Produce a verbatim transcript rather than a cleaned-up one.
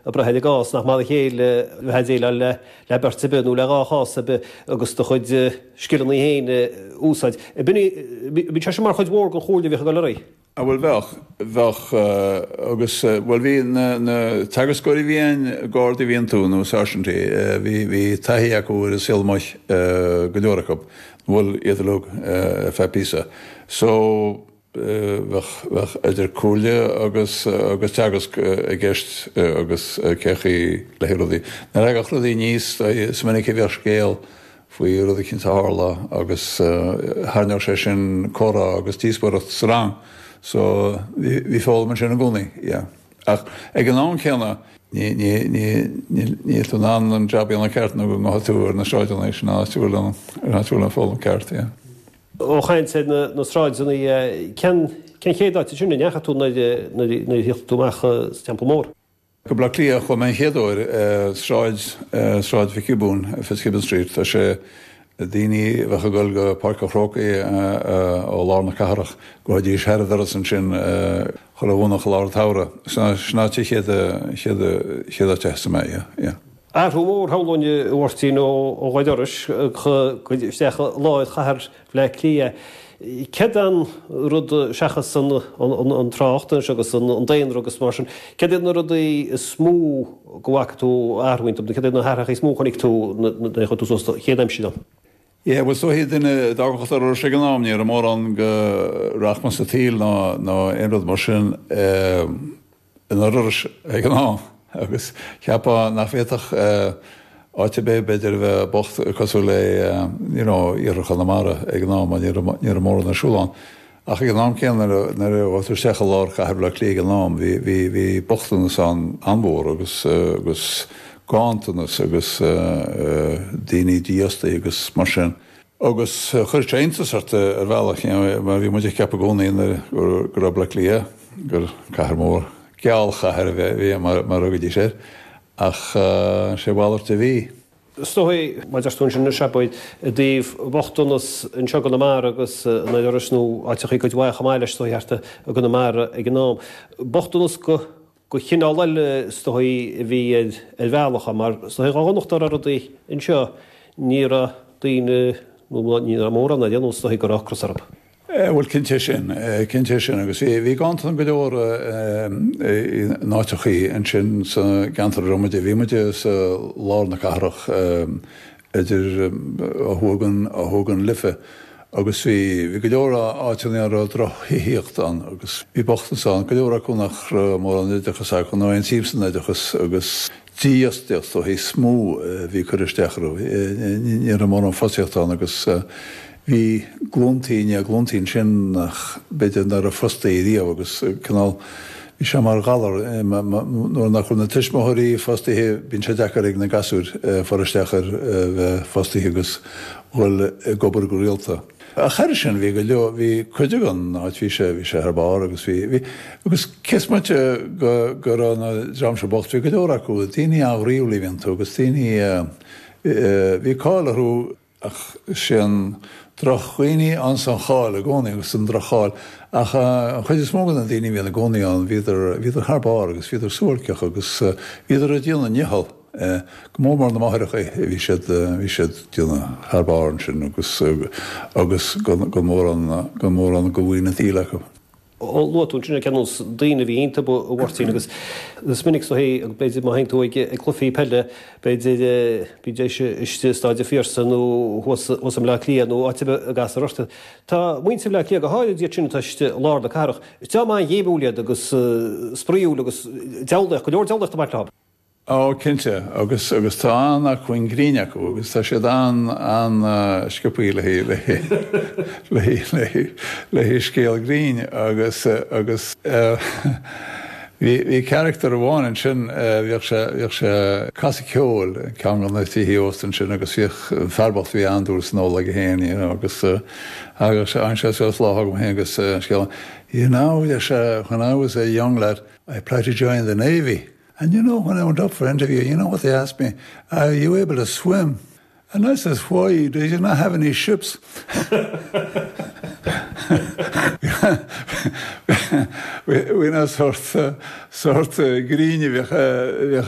ag brath ar an gcás, nach mar a chéile bheith ag déileáil le le beirt ar bith nó le dhá chás ar bith agus do chuid scileanna féin a úsáid. Bíonn sé sin mar chuid mhór den chomhairle a bhíodh ag dul ar aghaidh. Ah bhuel bheadh, bheadh agus bhuel bhí na na teagascóirí a bhí ann, gardaí a bhí iontu nó sáirsintí, bhí bhí taithí acu ar an saol amuigh, go leor acu, bhuel iad uilig ar feadh píosa. So bheadh bheadh idir comhairle agus agus teagasc i gceist agus cé chaoi le rudaí. Nuair a thagadh rudaí aníos is minic a bheadh scéal faoi rud éicint a tharla agus tharraingeodh sé sin comhrá agus díospóireacht sa rang. So bhí bhí foghlaim ansin i gcónaí, yeah. Ach ag an am céanna ní ní ní níl tú in ann an jab a dhéanamh ceart nó go ngabhfaidh tú ar na sráideanna sin áit a bhfuil an áit a bhfuil an foghlaim ceart, yeah. Ó chaint ar na na sráideanna cén cén chéad áit sin a ndeachaigh tú nuair nuair nuair a thiocht tú amach sa Teampall Mór? Go Bleá Cliath chuaigh mé an chéad uair sráid Sráid Mhic Giobúin, Fitzgibbon Street. Tá sé daoine a bheadh ag dul go Páirc an Chrócaigh ó lár na cathrach gabhaidís thar an doras ansin chuile Dhomhnach i lár an tsamhraidh. Sin áit an chéad chéad chéad áit a thosaigh mé, yeah, yeah. Athrú mór shamhlóinn a Mháirtín ó ó Ghaoth Dobhair isteach i lár chathair Bhaile Átha Cliath. Céard an rud seachas an an trácht anois agus an daonra agus mar sin, céard iad na rudaí is mó go bhfaca tú athrú iontu, céard iad na hathruithe is mó a chonaic tú nuair a chuaigh tú suas chéad aimsir ann? Yeah, well is dóichí duine a d'fhágfadh an doras ag an am, ní raibh mórán de rachmas an tsaoil ná ná aon rud mar sin ina dturas ag an am agus cheapfá nach bhféadfadh áit ar bith b'fhéidir a bheith bocht cosúil le you know iarthar Chonamara ag an am ní raibh ní raibh mórán ar siúl ann. Ach ag an am céanna nuair a bhí tú isteach i lár chathair Bhaile Átha Cliath ag an am bhí bhí bhí bochtanas ann an-mhór agus agus ganntanas agus daoine dífhostaithe agus mar sin. Agus chuir sé iontas ort ar bhealach mar bhí muid ag ceapadh i gcónaí nuair go raibh Bleá Cliath gur cathair mór gealchathair a bhí mar mar a thugaidís air ach sé a mhalairt a bhí. Is dóigh mar deir tú ansin anois abair i dtaobh bochtanas anseo i gConamara agus in Iorras nó áiteachaí cuid mhaith chomh maith leis is dóigh thart i gConamara ag an am. Bochtanas go go chineál eile is dóigh a bhí ar ar bhealach mar is dóigh dhá dhonacht dá raibh rudaí anseo ní raibh daoine nó ní raibh mórán ar aon nós is dóigh go raibh ocras orthu. Bhuel cinnte sin, cinnte sin agus bhí bhí ganntan go leor in áiteachaí ansin sa gceantar a raibh muid, bhí muid sa lár na cathrach idir ó thuaidh den ó thuaidh den Life agus bhí bhí go leor áiteanna a raibh drochthithíocht ann agus bhí bochtanas ann, go leor acu nach raibh mórán oideachas acu nó aon tsuim san oideachas agus dífhostaíocht ó is mó a bhí cur isteach orthu, ní raibh mórán fostaíocht ann agus bhí glúntaí i ndiaidh glúntaí ansin nach b'fhéidir nach raibh fostaithe riamh agus cineál bhí sé mar ghalar nuair nach bhfuil na tuismitheoirí fostaithe bíonn sé deacair ag na gasúir fáil isteach ar bheith fostaithe agus dhul ag obair go rialta. Ach thairis sin bhí go leor bhí cuid den áit bhí sé bhí sé thar barr agus bhí bhí agus cé is moite go go raibh na dream seo bocht bhí go leor acu daoine an-ghroíúil a bhí iontu agus daoine bhí cáil orthu ach sé an drochdhaoine ann an cháil i gcónaí agus an droch-cháil ach an chuid is mó de na daoine a bhíonn i gcónaí ann bhíodar bhíodar thar barr agus bhíodar suáilceach agus bhíodar ag déanamh a ndícheall go mór mór na máithreacha bhí siad bhí siad déanamh thar barr ansin agus agus gan gan mórán gan mórán de mhaoin an tsaoil acu. Ó luaigh tú ansin ar nós daoine a bhí iontu a Mháirtín agus is minic is dóigh b'fhéidir má théann tú ag ag cluichí peile b'fhéidir bídís istigh i Staid an Phiarsaigh nó thuas thuas i mBleá Cliath nó áit ar bith a gcastar ort. Tá muintir Bhaile Átha Cliath go háirid iad sin atá istigh i lár na cathrach. Is dream an-ghéimiúil iad agus spraíúil agus diabhlaíocht, go leor diabhlaíocht ag baint leo. Ó cinnte agus agus tá an-acmhainn grinn acu agus tá siad an an sciobtha le le le le le scéal grinn agus agus bhí bhí character amháin ansin bhíodh sé bhíodh sé ag casadh ceoil ceann de na tithe ósta ansin agus bhíodh fear bocht bhí an-dúil san ól aige féin you know agus thagadh sé an sé suas lá agam féin agus scéal you know sé when I was a young lad I applied to join the Navy. And you know, when I went up for interview, you know what they asked me? Are you able to swim? And I says, why? Do you not have any ships? Bhí na sórt sórt grinn a bheadh